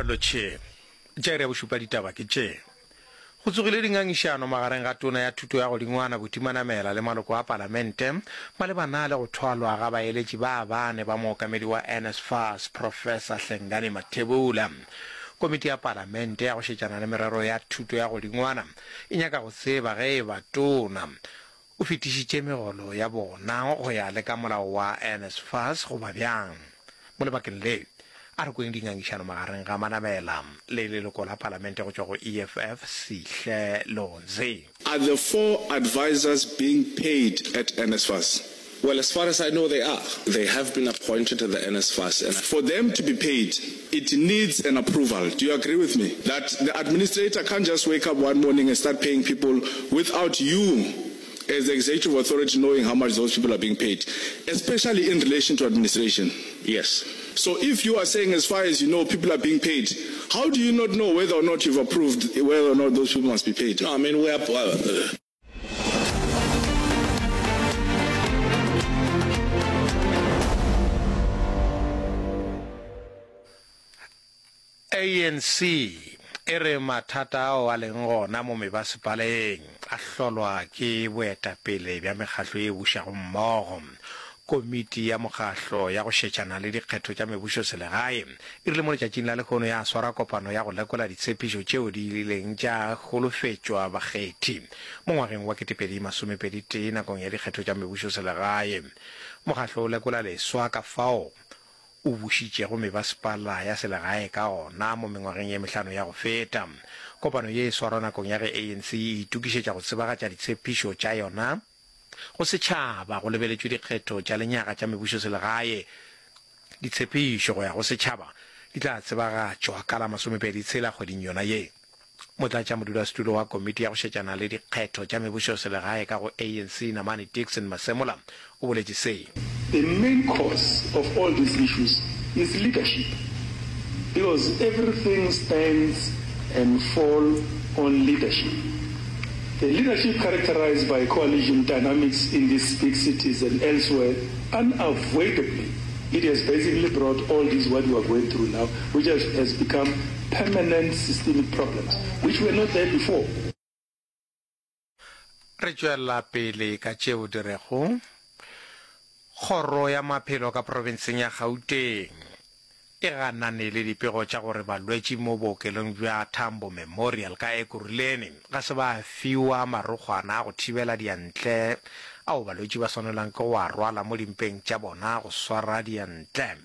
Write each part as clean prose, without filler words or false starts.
Lotšhe. Tša iri ya bošupa ditaba ke tše. Go tsogile dingangišano magareng ga Tona ya Thuto ya Godingwana Buti Manamela le maloko a Palamente malebana le go thwalwa ga baeletši ba bane ba mookamedi wa NSFAS Professor Hlengani Mathebula. Komiti ya Palamente ya go šetšana le merero ya thuto ya godingwana e nyaka go tseba ge e ba Tona o fetišitše megolo ya bona go ya le ka molao wa NSFAS goba bjang. Mo lebakeng le, a re kweng dingangišano magareng ga Manamela le leloko la Palamente go tšwa go EFF, Sihle Lonzi. Are the four advisers being paid at NSFAS? Well, as far as I know they are. They have been appointed to the NSFAS and. For them to be paid, it needs an approval. Do you agree with me that the administrator can't just wake up one morning and start paying people without you as the executive authority knowing how much those people are being paid, especially in relation to administration? Yes. So if you are saying as far as you know people are being paid, how do you not know whether or not you've approved whether or not those people must be paid? No, I mean, we are. Uh, ANC e re mathata ao a leng gona mo mebasepaleng a hlolwa ke boetapele bja mekgahlo ye bušago mmogo. Komiti ya mokgahlo ya go šetšana le dikgetho tša mebušoselegae e rile mo letšatšing la lehono ya swara kopano ya go lekola ditshepišo tšeo di ileng tša holofetšwa bakgethi mo ngwageng wa 2021 nakong ya dikgetho tša mebušoselegae. Mokgahlo o lekola leswa ka fao o bušitšego mebasepala ya selegae ka gona mo mengwageng ye mehlano ya go feta. Kopano ye e swarwa nakong ya ge ANC e itokišetša go tsebagatša ditshepišo tša yona go setšhaba go lebeletšwe dikgetho tša lenyaga tša mebušoselegae. Ditshepišo go ya go setšhaba di tla tsebagatšwa ka la masomepedi tshela kgweding yona ye. Motlatšamodulasetulo wa komiti ya go šetšana le dikgetho tša mebušoselegae ka go ANC Namane Dickson Masemola o boletše se. The main cause of all these issues is leadership because everything stands and fall on leadership. The leadership characterized by coalition dynamics in these big cities and elsewhere unavoidably it has basically brought all this what we are going through now which has, has become permanent systemic problems which were not there before. Re tšwela pele ka tšeo di rego, Kgoro ya Maphelo ka profenseng ya Gauteng e ganane le dipego tša gore balwetši mo bookelong bja Tambo Memorial ka Ekurhuleni ga se ba fiwa marokgwana a go thibela diyantle ao balwetši ba swanelang ke go a rwala mo dimpeng tša bona go swara diyantle.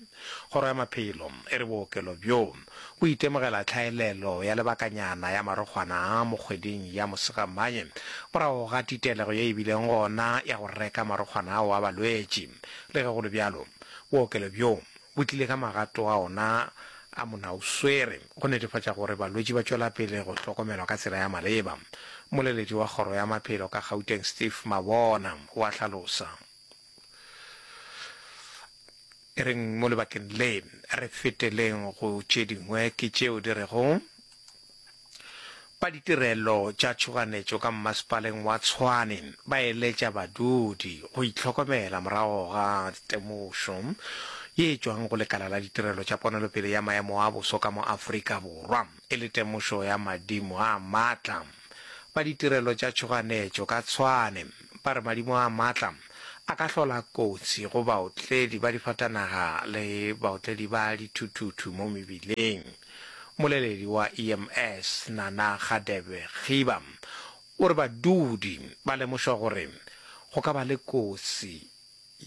Kgoro ya Maphelo e re bookelo bjo bo itemogela tlhaelelo ya lebakanyana ya marokgwana a mo kgweding ya Mosegamanye morago ga titelego ye e bileng gona ya go reka marokgwana ao a balwetši. Le ge go le bjalo, bookelo bjo bo tlile ka magato a ona a monaoswere go netefatša gore balwetši ba tšwela pele go hlokomelwa ka tsela ya maleba. Mmoleledi wa Kgoro ya Maphelo ka Gauteng Steve Mabona o a hlalosa. E reng mo lebakeng le re feteleng go tše dingwe ke tšeo di rego, Ba ditirelo tša tšhoganetšo ka mmasepaleng wa Tshwane ba eletša badudi go itlhokomela morago ga temošo ye e tšwang go lekala la ditirelo tša ponelopele ya maemo a boso ka mo Afrika Borwa e le temošo ya madimo a matla. Ba ditirelo tša tšhoganetšo ka Tshwane ba re madimo a matla a ka hlola kotsi go baotledi ba difatanaga le baotledi ba dithuthuthu mo mebileng. Mmoleledi wa EMS, Nana Kgadebe Khiba, o re badudi ba lemošwa gore go ka ba le kotsi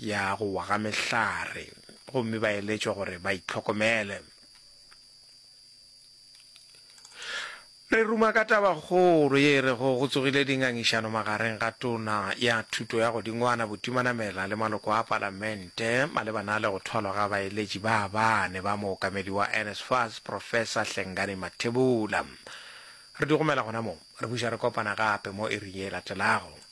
ya go wa ga mehlare gomme ba eletšwa gore ba itlhokomele. Re ruma ka tabakgolo ye e rego go tsogile dingangišano magareng ga Tona ya Thuto ya Godingwana Buti Manamela le maloko a Palamente malebana le go thwalwa ga baeletši ba bane ba mookamedi wa NSFAS Professor Hlengani Mathebula. Re di gomela gona mo, re buša re kopana gape mo iring ye e latelago.